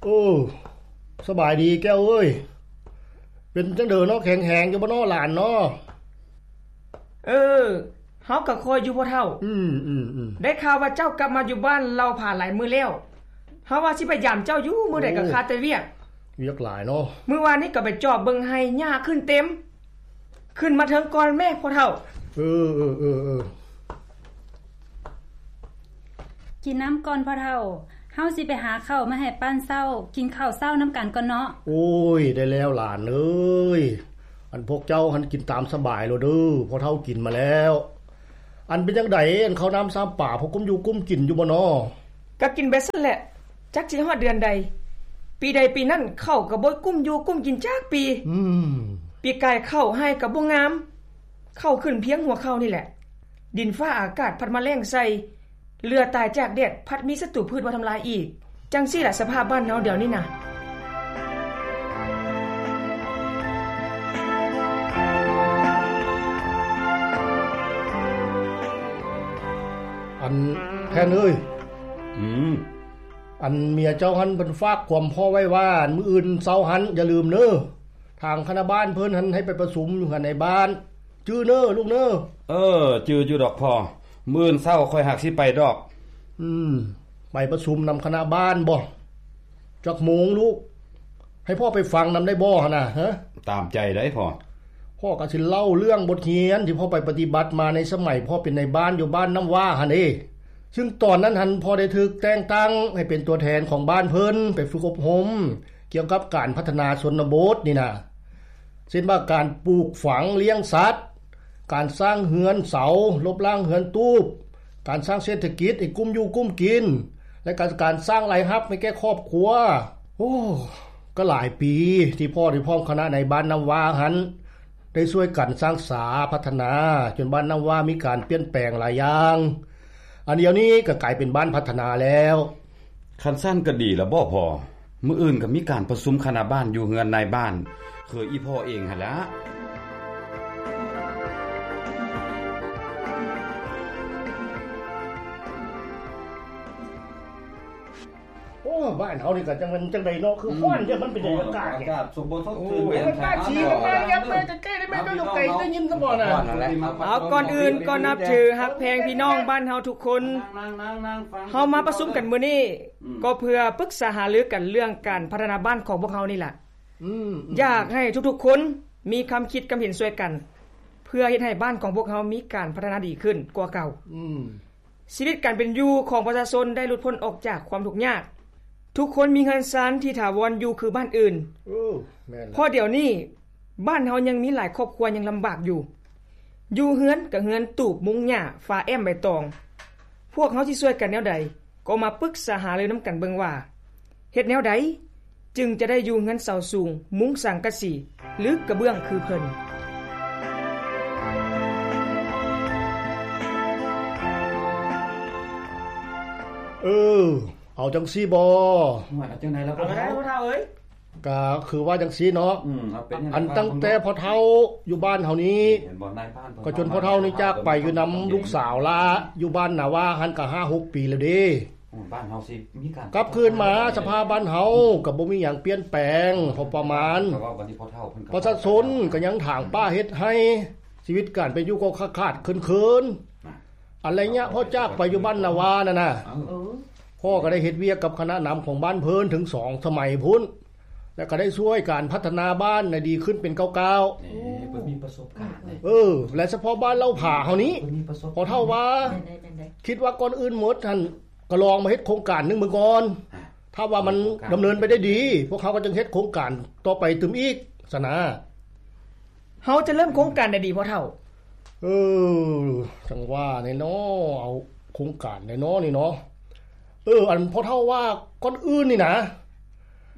ໂອ້ ສະບາຍດີແກ້ວເອີຍ. ເປັນຈັ່ງໃດເນາະ ແຂງແຮງຢູ່ບໍ່ເນາະຫຼານເນາະ? ເອີ ເຮົາກໍຄ່ອຍຢູ່ພໍ່ເຖົ້າ. ອືມໆໆ ໄດ້ຂ່າວວ່າເຈົ້າກັບມາຢູ່ບ້ານເລົ່າຜາຫຼາຍມື້ແລ້ວ. ເຮົາວ່າຊິໄປຢາມເຈົ້າຢູ່ ມື້ໃດກໍຄາແຕ່ວຽກ. ວຽກຫຼາຍເນາະ. ມື້ວານນີ້ກໍໄປຈອບເບິ່ງໄຮ່ ຫຍ້າຂຶ້ນເຕັມ. ຂຶ້ນມາເທິງກ່ອນແມ້ພໍ່ເຖົ້າ. ເອີໆໆໆ ກິນນ້ຳກ່ອນພໍ່ເຖົ້າ. ເຮົາຊິໄປຫາເຂົ້າມາໃຫ້ປັ້ນເຊົ້າ. ກິນເຂົ້າເຊົ້ານຳກັນກ່ອນເນາະ. ໂອ້ຍ ໄດ້ແລ້ວຫຼານເອີຍ. ອັນພວກເຈົ້າຫັ້ນກິນຕາມສະບາຍໂລດເດີ. ພໍ່ເຖົ້າກິນມາແລ້ວ. ອັນເປັນຈັ່ງໃດ ອັນເຂົ້ານ້ຳຊຳປາ ພໍກຸ້ມຢູ່ກຸ້ມກິນຢູ່ບໍ່ນໍ? ກໍກິນໄປຊັ້ນແຫຼະ. ຈັກຊິຮອດເດືອນໃດ. ປີໃດປີນັ້ນ ເຂົ້າກໍບໍ່ກຸ້ມຢູ່ກຸ້ມກິນຈັກປີ. ອືມ ປີກາຍເຂົ້າໄຮ່ກໍບໍ່ງາມ. ເຂົ້າຂຶ້ນພຽງຫົວເຂົ່ານີ້ແຫຼະ. ດິນຟ້າອາກາດພັດມາແລ້ງໃສ່. ເຫຼືອຕາຍຈາກແດດ ພັດມີສັດຕູພືດມາທຳລາຍອີກ. ຈັ່ງຊີ້ລະສະພາບບ້ານເຮົາດຽວນີ້ນະ. ອັນແພນເອີຍ. ອືມ. ອັນເມຍເຈົ້າຫັ້ນເພິ່ນຝາກຄວາມພໍ່ໄວ້ວ່າ ມື້ອື່ນເຊົ້າຫັ້ນຢ່າລືມເນີ. ທາງຄະນະບ້ານເພິ່ນຫັ້ນໃຫ້ໄປປະຊຸມຢູ່ເຮືອນນາຍບ້ານ. ຈື່ເນີລູກເນີ. ເອີ ຈື່ຢູ່ດອກພໍ່. ມື້ອື່ນເຊົ້າຂ້ອຍຫາກຊິໄປດອກ. ອືມ ໄປປະຊຸມນຳຄະນະບ້ານບໍ? ຈັກໂມງລູກ? ໃຫ້ພໍ່ໄປຟັງນຳໄດ້ບໍ່ຫັ້ນນະ? ຮະ? ຕາມໃຈໄດ໋ພໍ່. ພໍ່ກໍຊິເລົ່າເລື່ອງບົດຮຽນທີ່ພໍ່ໄປປະຕິບັດມາໃນສະໄໝພໍ່ເປັນນາຍບ້ານຢູ່ບ້ານນ້ຳຫວ້າຫັ້ນເດ. ຊຶ່ງຕອນນັ້ນຫັ້ນ ພໍ່ໄດ້ຖືກແຕ່ງຕັ້ງໃຫ້ເປັນຕົວແທນຂອງບ້ານເພິ່ນໄປຝຶກອົບຮົມ ກ່ຽວກັບການພັດທະນາຊົນນະບົດນີ້ນະ ເຊັ່ນວ່າການປູກຝັງລ້ຽງສັດ, ການສ້າງເຮືອນເສົາ, ລົບລ້າງເຮືອນຕູບ, ການສ້າງເສດຖະກິດໃຫ້ກຸ້ມຢູ່ກຸ້ມກິນ ແລະ ການ ການສ້າງລາຍຮັບໃຫ້ແກ່ຄອບຄົວ. ໂອ້ ກໍຫຼາຍປີທີ່ພໍ່ໄດ້ພ້ອມຄະນະນາຍບ້ານນ້ຳຫວ້າຫັ້ນ ໄດ້ຊ່ວຍກັນສ້າງສາພັດທະນາ ຈົນບ້ານນ້ຳຫວ້າມີການປ່ຽນແປງຫຼາຍຢ່າງ. ອັນດຽວນີ້ກໍກາຍເປັນບ້ານພັດທະນາແລ້ວ. ຄັນຊັ້ນກໍດີລະບໍພໍ່? ມື້ອື່ນກໍມີການປະຊຸມຄະນະບ້ານຢູ່ເຮືອນນາຍບ້ານ ຄືອີ່ພໍ່ເອງຫັ້ນລະ. ໂອ້ ບ້ານເຮົານີ້ກໍຈັ່ງແມ່ນຈັ່ງໃດເນາະ ຄືຮ້ອນແທ້ ມັນເປັນຫຍັງອາກາດນີ້. ໂອ້ຍ ອາກາດສົມບູນສົມ ໂອ້ຍ ອາກາດສີແມ່ນຫຍັງແມ່ນແຕ່ໃກ້ໄດ້ແມ່ນກໍຢູ່ໄກໄດ້ຍິນຊະບໍ່ນະ. ເອົາ ກ່ອນອື່ນກໍນັບຖືຮັກແພງພີ່ນ້ອງບ້ານເຮົາທຸກຄົນ. ເຮົາມາປະຊຸມກັນມື້ນີ້ ອືມ ກໍເພື່ອປຶກສາຫາລືກັນເລື່ອງການພັດທະນາບ້ານຂອງພວກເຮົານີ້ລະ. ອືມ ຢາກໃຫ້ທຸກໆຄົນມີຄຳຄິດຄຳເຫັນຊ່ວຍກັນ ເພື່ອເຮັດໃຫ້ບ້ານຂອງພວກເຮົາມີການພັດທະນາດີຂຶ້ນກວ່າເກົ່າ. ອືມ ຊີວິດການເປັນຢູ່ຂອງປະຊາຊົນໄດ້ຫຼຸດພົ້ນອອກຈາກຄວາມທຸກຍາກ. ທຸກຄົນມີເຮືອນຊານທີ່ຖາວອນຢູ່ຄືບ້ານອື່ນ. ເອີ ແມ່ນລະ. ເພາະດຽວນີ້ບ້ານເຮົາຍັງມີຫຼາຍຄອບຄົວຍັງລຳບາກຢູ່. ຢູ່ເຮືອນກໍເຮືອນຕູບມຸງຫຍ້າຝາແອ້ມໃບຕອງ. ພວກເຮົາຊິຊ່ວຍກັນແນວໃດ? ກໍມາປຶກສາຫາລືນຳກັນເບິ່ງວ່າ ເຮັດແນວໃດຈຶ່ງຈະໄດ້ຢູ່ເຮືອນເສົາສູງ ມຸງສັງກະສີ ຫຼື ກະເບື້ອງຄືເພິ່ນ. ເອີ ເອົາຈັ່ງຊີ້ບໍ? ວ່າຈັ່ງໃດລະ ກໍໄດ້ ພໍ່ເຖົ້າເອີຍ. ກະຄືວ່າຈັ່ງຊີ້ເນາະ ອືມ ເອົາເປັນ ອັນຕັ້ງແຕ່ພໍ່ເຖົ້າຢູ່ບ້ານເຮົານີ້ ເຫັນບໍ່ ນາຍບ້ານເພິ່ນ ກໍຈົນພໍ່ເຖົ້ານີ້ຈາກໄປຢູ່ນຳລູກສາວລະ ຢູ່ບ້ານນາຫວ້າຫັ້ນກະຫ້າຫົກປີແລ້ວເດ້. ອືມ ບ້ານເຮົາຊິມີການ ກັບຄືນມາ ສະພາບບ້ານເຮົາກໍບໍ່ມີຫຍັງປ່ຽນແປງພໍປະມານ. ປະຊາຊົນກໍຍັງຖາງປ່າເຮັດໄຮ່ ຊີວິດການເປັນຢູ່ກໍຂາດໆເຂີນໆ. ອັນໄລຍະພໍ່ຈາກໄປຢູ່ບ້ານນາຫວ້ານັ້ນນະ ເອີ ພໍ່ກໍໄດ້ເຮັດວຽກກັບຄະນະນຳຂອງບ້ານເພິ່ນເຖິງສອງສະໄໝພຸ້ນ ແລະ ກໍໄດ້ຊ່ວຍການພັດທະນາບ້ານໃຫ້ດີຂຶ້ນເປັນກ້າວໆ. ເອີ ເພິ່ນມີປະສົບການເດ້. ເອີ ແລະ ສະເພາະບ້ານເລົ່າຜາເຮົານີ້ ເພິ່ນມີປະສົບການ ພໍ່ເຖົ້າວ່າ ແມ່ນໃດ ແມ່ນໃດ ຄິດວ່າກ່ອນອື່ນໝົດຫັ້ນ ກໍລອງມາເຮັດໂຄງການໜຶ່ງເບິ່ງກ່ອນ. ຖ້າວ່າມັນດຳເນີນໄປໄດ້ດີ ພວກເຮົາກໍຈຶ່ງເຮັດໂຄງການຕໍ່ໄປຕື່ມອີກຊັ້ນນະ. ເຮົາຈະເລີ່ມໂຄງການໃດດີພໍ່ເຖົ້າ? ເອີ ຈັ່ງວ່າແນ່ເນາະ ເອົາໂຄງການໃດເນາະນີ້ເນາະ. ເອີ ອັນພໍ່ເຖົ້າວ່າ ກ່ອນອື່ນນີ້ນະ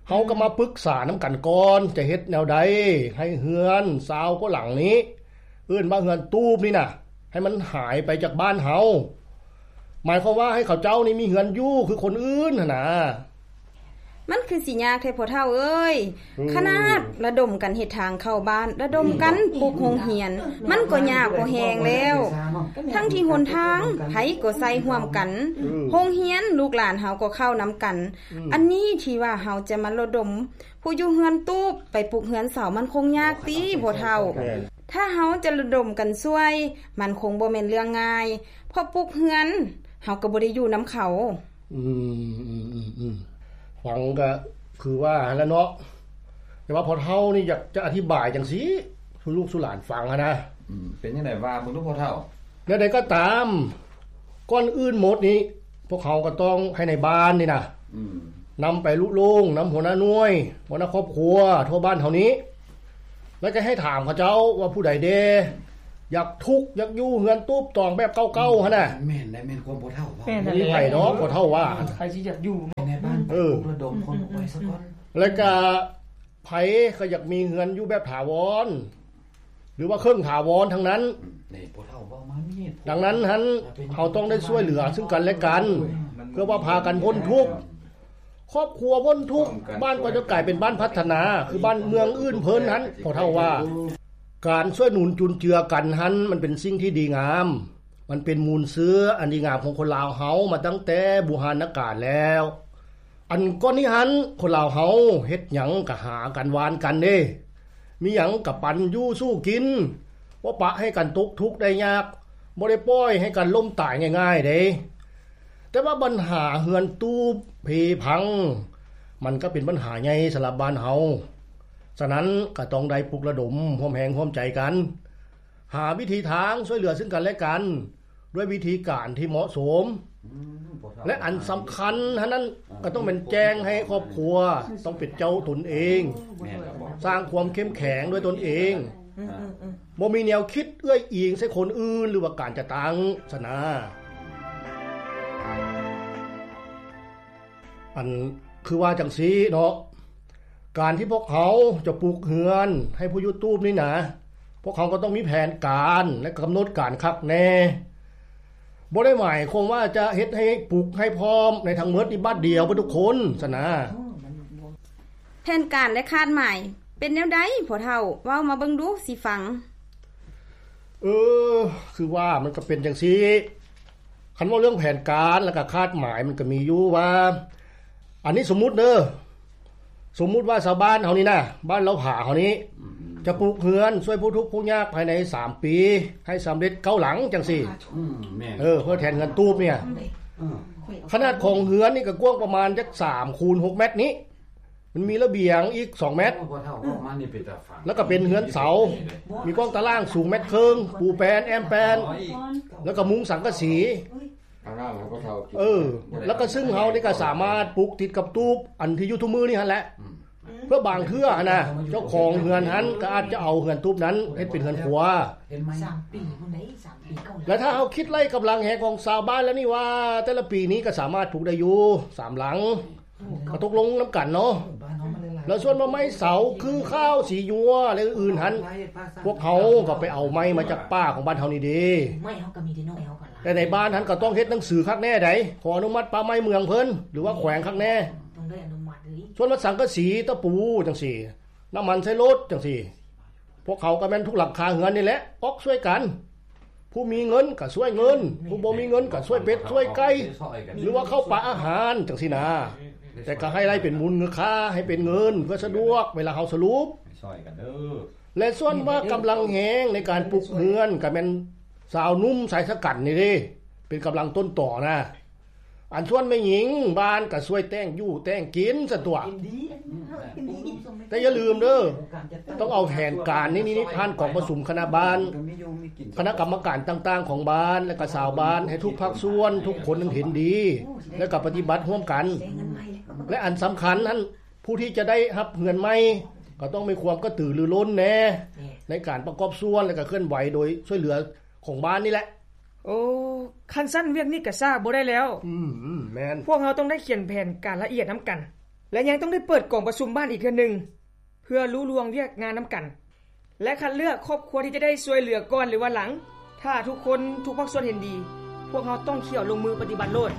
ເຮົາກໍມາປຶກສານຳກັນກ່ອນ ຈະເຮັດແນວໃດໃຫ້ເຮືອນຊາວກວ່າຫຼັງນີ້ ເອີ້ນວ່າເຮືອນຕູບນີ້ນະ ໃຫ້ມັນຫາຍໄປຈາກບ້ານເຮົາ. ໝາຍຄວາມວ່າໃຫ້ເຂົາເຈົ້ານີ້ມີເຮືອນຢູ່ຄືຄົນອື່ນຫັ້ນນະ. ມັນຄືຊິຍາກແທ້ພໍ່ເຖົ້າເອີຍ. ອືມ ຂະໜາດລະດົມກັນເຮັດທາງເຂົ້າບ້ານ, ລະດົມກັນປຸກໂຮງຮຽນ, ມັນກໍຍາກພໍແຮງແລ້ວ. ທັງທີ່ຫົນທາງໃຜກໍໃຊ້ຮ່ວມກັນ, ອືມ ໂຮງຮຽນລູກຫຼານເຮົາກໍເຂົ້ານຳກັນ. ອືມ ອັນນີ້ທີ່ວ່າເຮົາຈະມາລະດົມຜູ້ຢູ່ເຮືອນຕູບໄປປຸກເຮືອນເສົາ ມັນຄົງຍາກຕິພໍ່ເຖົ້າ. ແມ່ນ. ຖ້າເຮົາຈະລະດົມກັນຊ່ວຍ ມັນຄົງບໍ່ແມ່ນເລື່ອງງ່າຍ, ເພາະປຸກເຮືອນເຮົາກໍບໍ່ໄດ້ຢູ່ນຳເຂົາ. ອືມ ອືມ ອືມ ອືມ ຟັງກໍຄືວ່າຫັ້ນລະເນາະ, ແຕ່ວ່າພໍ່ເຖົ້ານີ້ຢາກຈະອະທິບາຍຈັ່ງຊີ້ສູ່ລູກສູ່ຫຼານຟັງຫັ້ນນະ. ອືມ ເປັນຈັ່ງໃດວ່າເບິ່ງດູພໍ່ເຖົ້າ. ແນວໃດກໍຕາມ, ກ່ອນອື່ນໝົດນີ້ ພວກເຮົາກໍຕ້ອງໃຫ້ນາຍບ້ານນີ້ນະ ອືມ ນຳໄປລຸລົງນຳຫົວໜ້າໜ່ວຍ, ຫົວໜ້າຄອບຄົວທົ່ວບ້ານເຮົານີ້ ແລ້ວກໍໃຫ້ຖາມເຂົາເຈົ້າວ່າຜູ້ໃດແດ່ຢາກທຸກ ຢາກຢູ່ເຮືອນຕູບຕອງແບບເກົ່າໆຫັ້ນນະ. ແມ່ນໄດ໋ ແມ່ນຄວາມພໍ່ເຖົ້າເວົ້າ. ແມ່ນ ບໍ່ມີໃຜດອກພໍ່ເຖົ້າວ່າ ໃຜຊິຢາກຢູ່ເນາະ. ໃນບ້ານ ເອີ ໄປປຸກລະດົມຄົນອອກໄປຊະກ່ອນ. ແລ້ວກໍໃຜກໍຢາກມີເຮືອນຢູ່ແບບຖາວອນ ຫຼືວ່າເຄິ່ງຖາວອນທັງນັ້ນ. ອືມ ນີ້ພໍ່ເຖົ້າເວົ້າມາມີເຫດຜົນ. ດັ່ງນັ້ນຫັ້ນ ເຮົາຕ້ອງໄດ້ຊ່ວຍເຫຼືອຊຶ່ງກັນແລະກັນ ເພື່ອວ່າພາກັນພົ້ນທຸກ. ຄອບຄົວພົ້ນທຸກ ບ້ານກໍຈະກາຍເປັນບ້ານພັດທະນາ ຄືບ້ານເມືອງອື່ນເພິ່ນຫັ້ນ. ພໍ່ເຖົ້າວ່າ ການຊ່ວຍໜູນຈຸນເຈືອກັນຫັ້ນ ມັນເປັນສິ່ງທີ່ດີງາມ, ມັນເປັນມູນເຊື້ອອັນດີງາມຂອງຄົນລາວເຮົາມາຕັ້ງແຕ່ບູຮານນະການແລ້ວ. ອັນກ່ອນນີ້ຫັ້ນ ຄົນລາວເຮົາເຮັດຫຍັງກໍຫາກັນຫວ່ານກັນເດ້, ມີຫຍັງກໍປັນຢູ່ສູ້ກິນ, ບໍ່ປະໃຫ້ກັນຕົກທຸກໄດ້ຍາກ, ບໍ່ໄດ້ປ່ອຍໃຫ້ກັນລົ້ມຕາຍງ່າຍໆເດ້. ແຕ່ວ່າບັນຫາເຮືອນຕູບເພພັງ ມັນກໍເປັນບັນຫາໃຫຍ່ສຳລັບບ້ານເຮົາ. ສະນັ້ນກໍຕ້ອງໄດ້ປຸກລະດົມຮ່ວມແຮງຮ່ວມໃຈກັນ ຫາວິທີທາງຊ່ວຍເຫຼືອຊຶ່ງກັນແລະກັນ ດ້ວຍວິທີການທີ່ເໝາະສົມ ອືມ ແລະ ອັນສຳຄັນຫັ້ນນັ້ນ ອືມ ກໍຕ້ອງແມ່ນແຈ້ງໃຫ້ຄອບຄົວ ຕ້ອງເປັນເຈົ້າຕົນເອງ ແມ່ນແລ້ວ ສ້າງຄວາມເຂັ້ມແຂງດ້ວຍຕົນເອງ ອືມ ອືມ ອືມ ບໍ່ມີແນວຄິດເອື້ອຍອີງໃສ່ຄົນອື່ນ ຫຼືວ່າການຈັດຕັ້ງຊັ້ນນະ. ອັນຄືວ່າຈັ່ງຊີ້ເນາະ, ການທີ່ພວກເຮົາຈະປຸກເຮືອນໃຫ້ຜູ້ຢູ່ຕູບນີ້ນະ, ພວກເຮົາກໍຕ້ອງມີແຜນການ ແລະ ກຳນົດການຄັກແນ່. ບໍ່ໄດ້ໝາຍຄວາມວ່າຈະເຮັດໃຫ້ປຸກໃຫ້ພ້ອມໃນທັງໝົດນີ້ບາດດຽວເບິດທຸກຄົນຊັ້ນນະ. ແຜນການ ແລະ ຄາດໝາຍເປັນແນວໃດພໍ່ເຖົ້າ? ເວົ້າມາເບິ່ງດູ ຊິຟັງ. ເອີ ຄືວ່າມັນກໍເປັນຈັ່ງຊີ້. ຄັນເວົ້າເລື່ອງແຜນການ ແລ້ວກໍຄາດໝາຍ ມັນກໍມີຢູ່ວ່າ ອັນນີ້ສົມມຸດເດີ, ສົມມຸດວ່າຊາວບ້ານເຮົານີ້ນະ, ບ້ານເລົ່າຜາເຮົານີ້ ອືມ ຈະປຸກເຮືອນຊ່ວຍຜູ້ທຸກຜູ້ຍາກພາຍໃນສາມປີ ໃຫ້ສຳເລັດເກົ້າຫຼັງຈັ່ງຊີ້. ອືມ ແມ່ນ. ເອີ ເພື່ອແທນເຮືອນຕູບນີ້. ອືມ ຂະໜາດຂອງເຮືອນນີ້ກໍກວ້າງປະມານຈັກສາມຄູນຫົກແມັດນີ້. ມັນມີລະບຽງອີກສອງແມັດ ໂອ້ ພໍ່ເຖົ້າເວົ້າມານີ້ເປັນຕາຟັງ ແລ້ວກໍເປັນເຮືອນເສົາ ມີກວ້າງຕາລ່າງສູງແມັດເຄິ່ງ ປູແປນແອ້ມແປນ ແລ້ວກໍມຸງສັງກະສີ ເອີ ແລ້ວກໍຊຶ່ງເຮົານີ້ກໍສາມາດປຸກຕິດກັບຕູບອັນທີ່ຢູ່ທຸກມື້ນີ້ຫັ້ນແຫຼະ ອືມ ເພື່ອບາງເທື່ອຫັ້ນນະ ເຈົ້າຂອງເຮືອນຫັ້ນກໍອາດຈະເອົາເຮືອນຕູບນັ້ນເຮັດເປັນເຮືອນຄົວ ເຫັນໄໝ ສາມປີພຸ້ນເດ້ ສາມປີເກົ້າ ແລ້ວຖ້າເຮົາຄິດໄລ່ກຳລັງແຮງຂອງຊາວບ້ານແລ້ວນີ້ວ່າ ແຕ່ລະປີນີ້ກໍສາມາດປຸກໄດ້ຢູ່ສາມຫຼັງ ກໍຕົກລົງນຳກັນເນາະ ແລ້ວສ່ວນວ່າໄມ້ເສົາ ຄື ຂາວ ສີຍົວ ແລະ ອື່ນໆຫັ້ນ ພວກເຮົາກໍໄປເອົາໄມ້ມາຈາກປ່າຂອງບ້ານເຮົານີ້ເດ້ ໄມ້ເຮົາກໍມີແຕ່ນ້ອຍເຮົາກໍຫຼາຍ ແຕ່ໃນບ້ານຫັ້ນກໍຕ້ອງເຮັດໜັງສືຄັກແນ່ໃດ ຂໍອະນຸມັດປ່າໄມ້ເມືອງເພິ່ນ ຫຼືວ່າແຂວງຄັກແນ່ ຕ້ອງໄດ້ອະນຸມັດເລີຍ ສ່ວນວ່າສັງກະສີ ຕະປູ ຈັ່ງຊີ້ ນ້ຳມັນໃສ່ລົດ ຈັ່ງຊີ້ ພວກເຮົາກໍແມ່ນທຸກຫຼັງຄາເຮືອນນີ້ແຫຼະ ອອກຊ່ວຍກັນ ຜູ້ມີເງິນກໍຊ່ວຍເງິນ ຜູ້ບໍ່ມີເງິນກໍຊ່ວຍເປັດຊ່ວຍໄກ່ ຫຼືວ່າເຂົ້າປາອາຫານຈັ່ງຊີ້ນາ ແຕ່ກໍໃຫ້ໄລ່ເປັນມູນຄ່າ ໃຫ້ເປັນເງິນ ເພື່ອສະດວກເວລາເຮົາສະຫຼຸບ ຊ່ອຍກັນເດີ ແລະ ສ່ວນວ່າກຳລັງແຮງໃນການປຸກເຮືອນກໍແມ່ນຊາວໜຸ່ມຊາຍຊະກັນນີ້ເດ້ ເປັນກຳລັງຕົ້ນຕໍນະ ອັນສ່ວນແມ່ຍິງບ້ານກໍຊ່ວຍແຕ່ງຢູ່ແຕ່ງກິນຊັ້ນຕົວະ ແຕ່ຢ່າລືມເດີ ຕ້ອງເອົາແຜນການນີ້ຜ່ານກອງປະຊຸມຄະນະບ້ານ ຄະນະກຳມະການຕ່າງໆຂອງບ້ານ ແລະ ກະຊາວບ້ານ ໃຫ້ທຸກພາກສ່ວນ ທຸກຄົນນັ້ນເຫັນດີ ແລະ ກໍປະຕິບັດຮ່ວມກັນ ແລະ ອັນສຳຄັນຫັ້ນ ຜູ້ທີ່ຈະໄດ້ຮັບເຮືອນໃໝ່ ກໍຕ້ອງມີຄວາມກະຕືລືລົ້ນແດ່ ໃນການປະກອບສ່ວນ ແລະ ກໍເຄື່ອນໄຫວໂດຍຊ່ວຍເຫຼືອຂອງບ້ານນີ້ແຫຼະ. ໂອ້ ຄັນຊັ້ນວຽກນີ້ກໍຊ້າບໍ່ໄດ້ແລ້ວ ອືມ ແມ່ນ ພວກເຮົາຕ້ອງໄດ້ຂຽນແຜນການລະອຽດນຳກັນ ແລະ ຍັງຕ້ອງໄດ້ເປີດກອງປະຊຸມບ້ານອີກເທື່ອໜຶ່ງ ເພື່ອລຸລ່ວງວຽກງານນຳກັນ ແລະ ຄັດເລືອກຄອບຄົວທີ່ຈະໄດ້ຊ່ວຍເຫຼືອກ່ອນ ຫຼືວ່າຫຼັງ ຖ້າທຸກຄົນ ທຸກພາກສ່ວນເຫັນດີ ພວກເຮົາຕ້ອງຂ້ຽວລົງມືປະຕິບັດໂລດ.